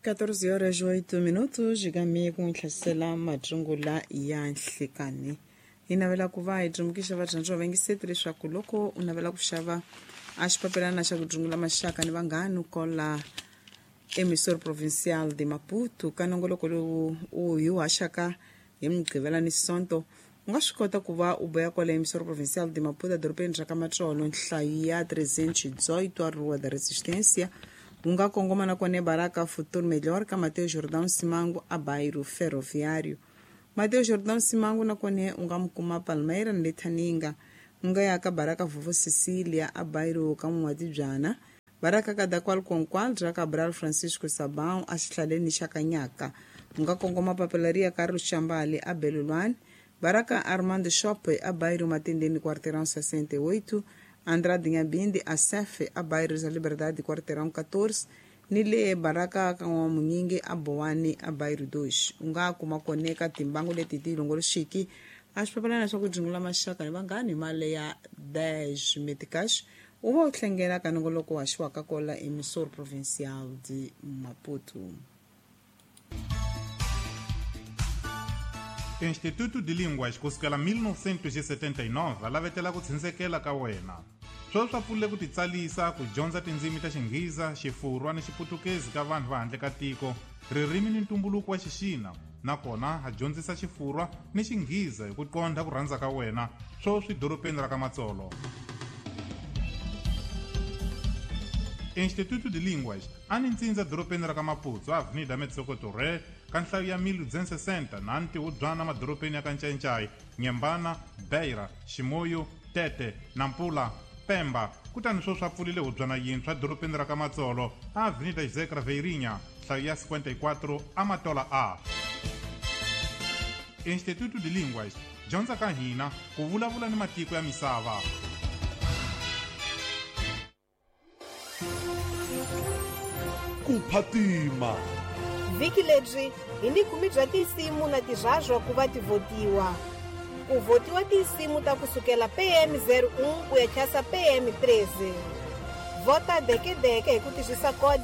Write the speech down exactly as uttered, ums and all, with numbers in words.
catorze horas oito minutos xikami ku n'wi hlasela matsungula ya nhlikani. Hi navela ku va hi tsundzuxa vadyondzi va vayingiseti leswaku loko u navela ku xava a xipapilana xa ku dzungula maxaka ni vanghani kola Emissor Provincial de Maputo ka nongoloko lowu u hi wu haxaka hi Mugqivela ni Sonto, u nga swi kota ku va u boya kwala Emissor Provincial de Maputo edorobeni ra ka Matsolo, nhlayo ya trezentos e dezoito a Rua da Resistência. U nga kongoma na kona Baraka Futuro Melhor ka Mateo Jordão Simango a Bairro Ferroviário. Mateo Jordão Simango na kona u nga mu kuma Palmeira ni le Thaninga. U nga ya ka Baraka Vovó Cecília a Bairro ka N'watibyana. Baraka Kadakwal Konkwal ra Cabral Francisco Sabão a xihlaleni xa Kanyaka. U nga kongoma Papelaria Carlos Chambale a Belulwani. Baraka Armando Shop a Bairro Matendeni quarteirão sessenta e oito. Andrade Nhabinde a Sef a Bairro da Liberdade quarteirão catorze. Ni le Baraka ka N'wamunyingi a Bowani a Bairro dois. U nga kuma kona eka timbangu leti ti longoloxiki a xipapilana swa ku dzungula maxaka ni vanghani hi mali ya dez meticais. U va u tlhengela ka nongoloko wa haxiwaka kola Emissor Provincial de Maputo. Instituto de Línguas kusukela mil novecentos e setenta e nove a lavetela ku tshunxekela ka wena. Sweswi swa pfulile ku titsalisa ku dyondza tindzimi ta Xinghiza, Xifurwa ni Xiputukezi ka vanhu va handle ka tiko, ririmi ni ntumbuluko wa Xixina, nakona ha dyondzisa Xifurwa ni Xinghiza hi ku qondha ku rhandza ka wena, sweswi dorobeni ra ka Matsolo. Instituto de Línguas a ni ntsindza dorobeni ra ka Maputo, Avenida Metsoko Torre, ka nhlayo ya mil duzentos e sessenta na ntihubyana madorobeni ya ka Ncancai, Nyembana, Beira, Ximoyo, Tete, Nampula, Pemba. Kutani sweswi a pfulile hubyana yintshwa dorobeni ra ka Matsolo, Avenida José Craveirinha, nhlayo ya cinquenta e quatro, Amatola A. Instituto de Línguas, dyondza ka hina ku vulavula ni matiko ya misava. Ku phatima vhiki lebyi hi ni khume bya tinsimu na tirhazwa ku va ti votiwa. Ku votiwa tinsimu ta kusukela P M zero um ku ya chasa P M treze. Vota dekedeke hi ku tirhisa kodi